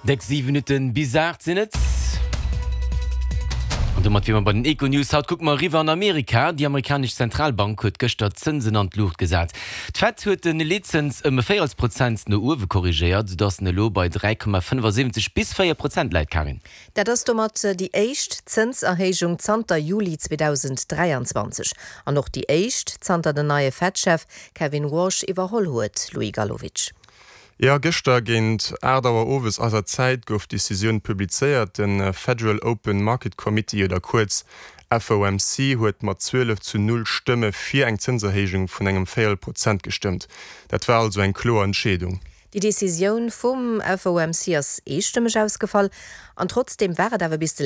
Déck 7 Minutten bis 8 sinn et. An domat wier mer bei den Econews. Haut kucke mer eriwwer an Amerika. Déi amerikanesch Zentralbank huet gëschter d'Zënsen an d'Luucht gesat. D'Fed huet de Leetzëns ëm e Véierelsprozent no uewe korrigéiert, soudass en elo bei 3,75 bis 4 Prozent läit. Karin. Dat ass domat déi éischt Zënserhéijung zanter Juli 2023 an och déi éischt, zanter den neie Fed-Chef Kevin Warsh iwwerholl huet. Louis Galowitsch. Jo, gëschter géint 8 Auer owes eiser Zäit gouf d'Decisioun publizéiert. De Federal Open Market Committee, oder kuerz FOMC, huet mat 12 zu 0 Stëmme fir eng Zënserhéijung vun engem Véierel Prozent gestëmmt. Dat war also eng kloer Entscheedung. Déi Decisioun vum FOMC ass eestëmmeg ausgefall an trotzdeem war et awer bis de.